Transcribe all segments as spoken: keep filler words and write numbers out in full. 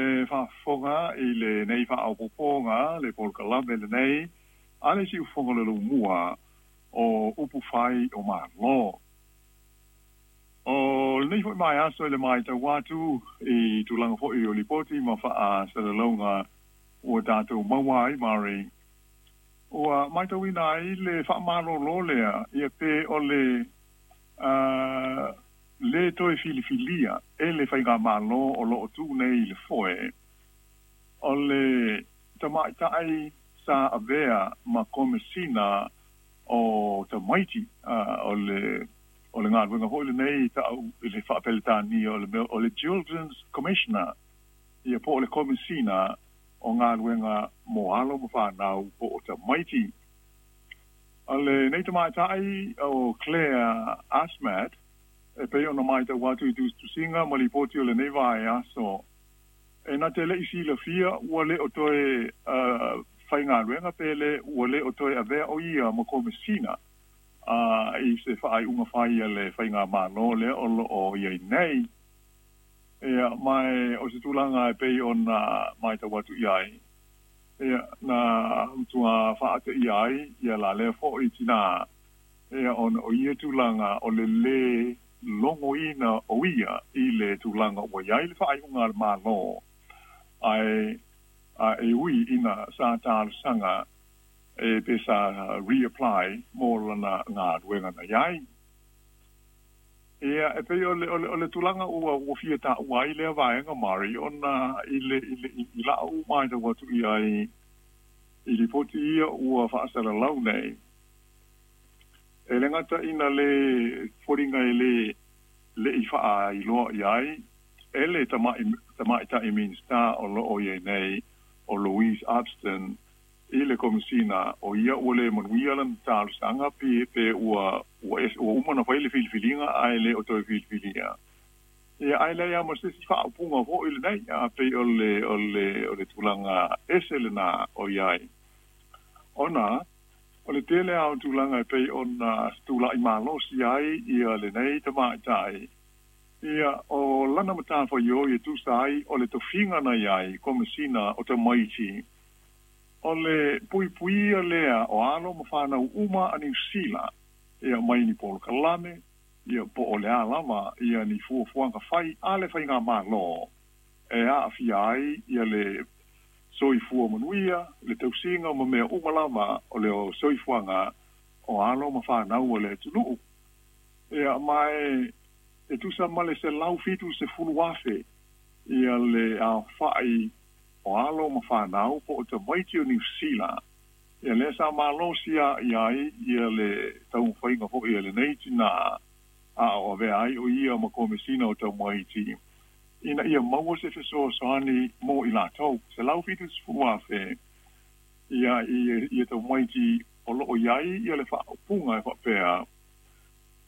E faafofoga i lenei faaopoopoga le polokalame lenei a le Siufofoga o le Lumua o Upu Fai o Malo. O lenei foi mai aso i le matau atu i tulaga foi o lipoti ma faasalalauga ua tatou maua ai, Mari, ua matauina ai le faamalōlō lea ia pe o le uh, le toe filifilia e le faigamālō o loo tu nei i le foe o le tamaita'i sa avea ma Komesina o Tamaiti, uh, o le o le galuega foi lenei ta'u i le faapeletania o le o le Children's Commissioner ia po o le Komesina o galuega mo alo ma fanau po o tamaiti. O lenei tamaita'i o Claire Asmat, e pei ona matau atu i tusitusiga ma lipoti o lenei vaiaso, e na te le'i silafia ua le o toe uh, faigaluega pe le ua le o toe avea o ia ma Komesina uh, i se faaiuga fai a le faigamālō lea o loo iai nei. Ia mai o se tulaga e pei ona matau atu i ai ia na matua faateia ai ia la lea fo'i tinā ia ona o ia tulaga o le lē logoina o ia i le tulaga ua iai le faaiuga a le Mālō, ae a e ui ina sa talosaga e pe sa reapply mo lana galuega na iai. Ia e pei o le, o le, o le tulaga ua ua fia taua ai lea vaega, Mari, ona i le i le i la'u matau atu i ai i lipoti ia ua faasalalau nei, e le gata ina le foliga e le le'i faailoa i ai e le tama'i tamaita'i Minista o loo iai nei o Louise Upston i le Komesina o ia ua le manuia lana talosaga pe pe ua ua ua uma na fai le filifiliga ae le o toe filifilia ia, ae leai a ma se isi faaupuga fo'i lenei a pei o le o le o le tulaga ese lenā o iai ona o le tele a o tulaga e pei ona tula'i malosi ai ia lenei tamaita'i ia o lana matafaioi e tusa ai o le tofiga na iai Komesina o Tamaiti, o le puipuia lea o alo ma fanau uma a Niusila ia mai ni polokalame ia po o le a lava ia ni fuafuaga fai a le faigamālō e aafia ai ia le soifua manuia, le tausiga ma mea uma lava o le soifuaga o alo ma fanau o le atunuu. Ia ma e e tusa ma le selau fitu sefulu afe ia le aofa'i o alo ma fanau po o tamaiti o Niusila ia lea sa malosi i ai ia le taumafaiga fo'i a lenei tinā a o avea ai o ia ma Komesina o Tamaiti ina ia maua se fesoasoani mo i latou selau fitu sefulu afe ia ia ia tamaiti o loo iai ia le faaupuga e faapea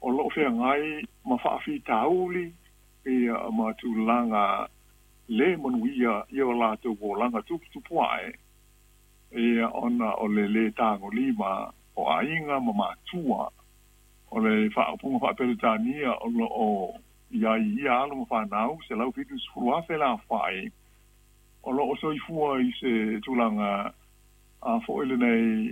o loo feagai ma faafitauli ia ma tulaga lē manuia ia o latou olaga tuputupu ae ia ona o le lē tagolima o aiga ma matua. O le faaupuga faapeletania o loo iai ia alo ma fanau selau fitu sefulu afe la aofa'i o loo soifua i se tulaga a fo'i lenei.